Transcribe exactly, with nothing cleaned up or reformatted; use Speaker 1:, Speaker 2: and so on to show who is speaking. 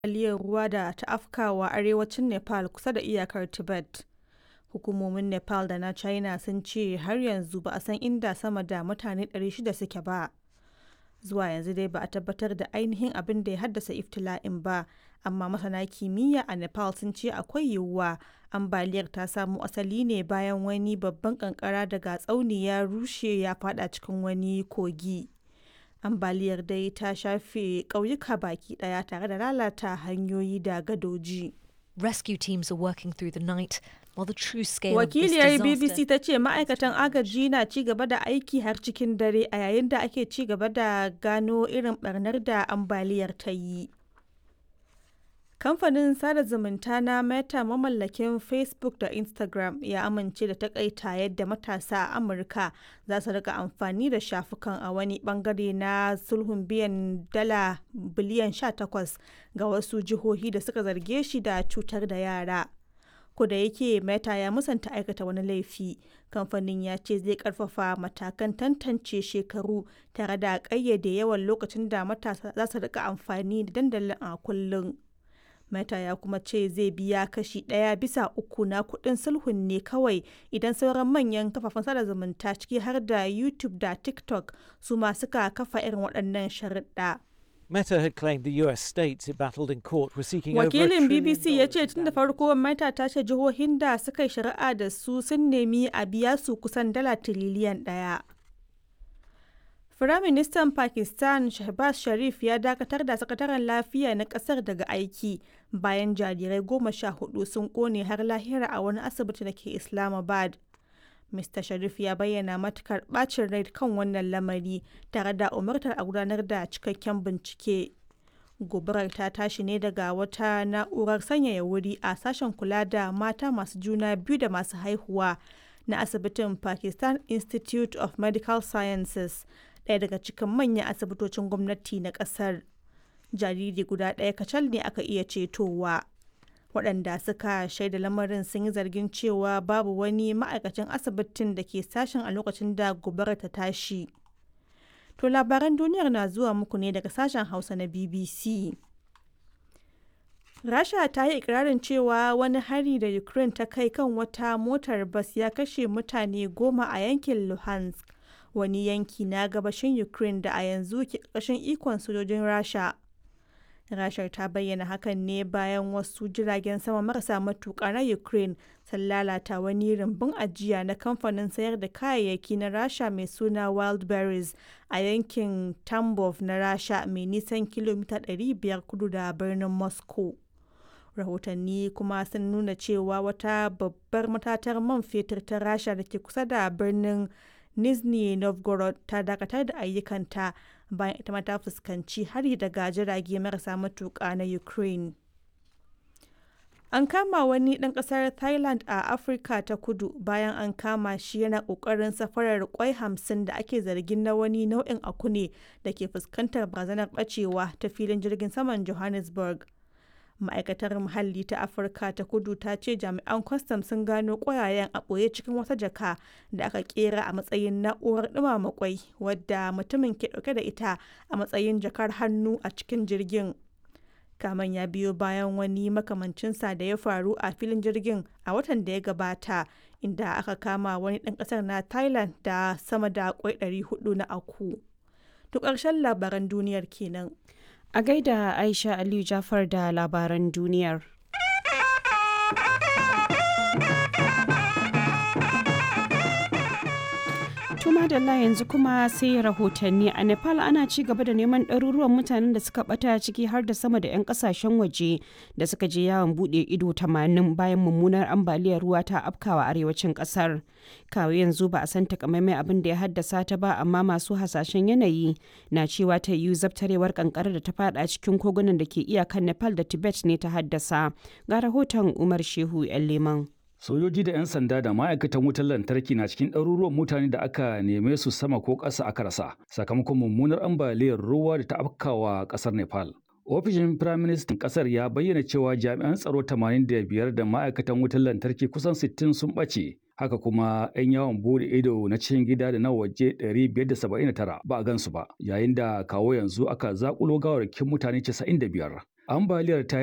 Speaker 1: Ambaliyar ruwa da ta afkawa arewacin Nepal kusa da iyakar Tibet. Hukumomin Nepal da na China sun ce har yanzu ba a san inda sama da mutane ɗari shida suke ba. Zuwa yanzu dai ba a tabbatar da ainihin abin da ya haddasa ibtila'in ba, amma masana kimiyya a Nepal sun ce akwai yiwuwa ambaliyar ta samo asali ne bayan wani babban kankara daga tsauni ya rushe ya fada cikin wani kogi. Ambaliyar dai ta shafe ƙauyuka baki ɗaya tare da lalata hanyoyi da gadoji.
Speaker 2: Rescue teams are working through the night while the true scale of this
Speaker 1: Wakiliyar
Speaker 2: disaster
Speaker 1: B B C ta ce ma'aikatan agaji na ci gaba da aiki har cikin dare a yayin da ake ci gaba da gano irin barnar da ambaliyar ta yi. Kamfanin sada zumunta na Meta, mamallakin Facebook da Instagram, ya amince da takaita yadda matasa a Amurka za su rika amfani da shafukan a wani bangare na sulhun biyan dala biliyan sha takwas ga wasu jihohi da suka zarge shi da cutar da yara. Da yake Meta ya musanta aikata wani laifi, kamfanin ya ce zai karfafa matakan tantance shekaru tare da ƙayyade yawan lokacin da matasa za su rika amfani da dandalin a kullum. Meta ya kuma ce zai biya kashi ɗaya bisa uku na kuɗin sulhun ne kawai idan sauran manyan kafafen sada zumunta, ciki har da YouTube da TikTok, su ma suka kafa irin waɗannan sharuɗa.
Speaker 3: Meta had claimed the U S states it battled in court were seeking over a
Speaker 1: Wakilin
Speaker 3: trillion
Speaker 1: B B C ya
Speaker 3: dollars
Speaker 1: ce
Speaker 3: in
Speaker 1: tun da
Speaker 3: damages.
Speaker 1: farko Meta ta ce jihohin da suka yi shari'a da su sun nemi a biya su kusan dala tiriliyan ɗaya. Firaministan Pakistan Shehbaz Sharif ya dakatar da sakataren lafiya na kasar daga aiki bayan jarirai goma sha hudu sun kone har lahira a wani asibiti da ke Islamabad. Mister Sharif ya bayyana matukar bacin rai kan wannan lamari tare da umartar a gudanar da cikakken bincike. Gobarar ta tashi ne daga wata na'urar sanyaya wuri a sashen kula da mata masu juna biyu da masu haihuwa na asibitin Pakistan Institute of Medical Sciences, ɗaya daga cikin manyan asibitocin gwamnati na ƙasar. Jariri guda ɗaya kacal ne aka iya cetowa. Waɗanda suka shaida lamarin sun yi zargin cewa babu wani ma'aikacin asibitin da ke sashen a lokacin da gobarar ta tashi. To, labaran duniyar na zuwa muku ne daga sashen Hausa na B B C. Rasha ta yi ikirarin cewa wani hari da Ukraine ta kai kan wata motar bas ya kashe mutane goma a yankin Luhansk, wani yanki na gabashin Ukraine da a yanzu ke ƙarƙashin ikon sojojin Rasha. Rashar ta bayyana hakan ne bayan wasu jiragen sama marasa matuƙa na Ukraine sun lalata wani rumbun ajiya na kamfanin sayar da kayayyaki na Rasha mai suna Wildberries a yankin Tambov na Rasha, mai nisan kilomita ɗari biyar kudu da birnin Moscow. Rahotanni kuma sun nuna cewa wata babbar matatar man fetur ta Rasha da ke kusa da birnin Nizhny Novgorod ta dakatar da ayyukanta bayan ita ma ta fuskanci hari daga jirage marasa matuƙa na Ukraine. An kama wani ɗan ƙasar Thailand a Afirka ta Kudu bayan an kama shi yana ƙoƙarin safarar ƙwai hamsin da ake zargin na wani nau'in aku ne da ke fuskantar barazanar ɓacewa ta filin jirgin saman Johannesburg. Ma'aikatar Muhalli ta Afirka ta Kudu ta ce jami'an kwastam sun gano ƙwayayen a ɓoye cikin wata jaka da aka kera a matsayin na'urar ɗumama ƙwai, wadda mutumin ke ɗauke da ita a matsayin jakar hannu a cikin jirgin. Kamen ya biyo bayan wani makamancinsa da ya faru a filin jirgin a watan da ya gabata, inda aka kama wani ɗan ƙasar na Thailand da sama da ƙwai ɗari huɗu na aku. To, ƙarshen labaran duniyar kenan.
Speaker 4: A gaida Aisha Aliyu Jafar da labaran duniyar. Tuma da yanzu kuma sai rahotanni. A Nepal ana ci gaba da neman ɗaruruwan mutanen da suka bata, ciki har da sama da 'yan kasashen waje da suka je yawon buɗe ido tamanin, bayan mummunar ambaliyar ruwa ta afkawa arewacin ƙasar. Kawo yanzu ba a san takamaimai abin da ya haddasa ta ba, amma masu hasashen yanayi na cewa ta yiwu zabtarewar kankara da ta fada cikin kogunan da ke iyakan Nepal da Tibet ne ta haddasa. Ga rahoton Umar Shehu 'Yan Leman.
Speaker 5: Sojoji da 'yan sanda da ma'aikatan wutar lantarki na cikin ɗaruruwan mutane da aka neme su sama ko ƙasa aka rasa sakamakon mummunar ambaliyar ruwa da ta afkawa ƙasar Nepal. Ofishin Firaministan ƙasar ya bayyana cewa jami'an tsaro tamanin da biyar da ma'aikatan wutar lantarki kusan sittin sun ɓace. Haka kuma 'yan yawon bude ido na cikin gida da na waje ɗari biyar da saba'in da tara ba a gansu ba, yayin da kawo yanzu aka zaƙulo gawarwakin mutane casa'in da biyar. Ambaliyar ta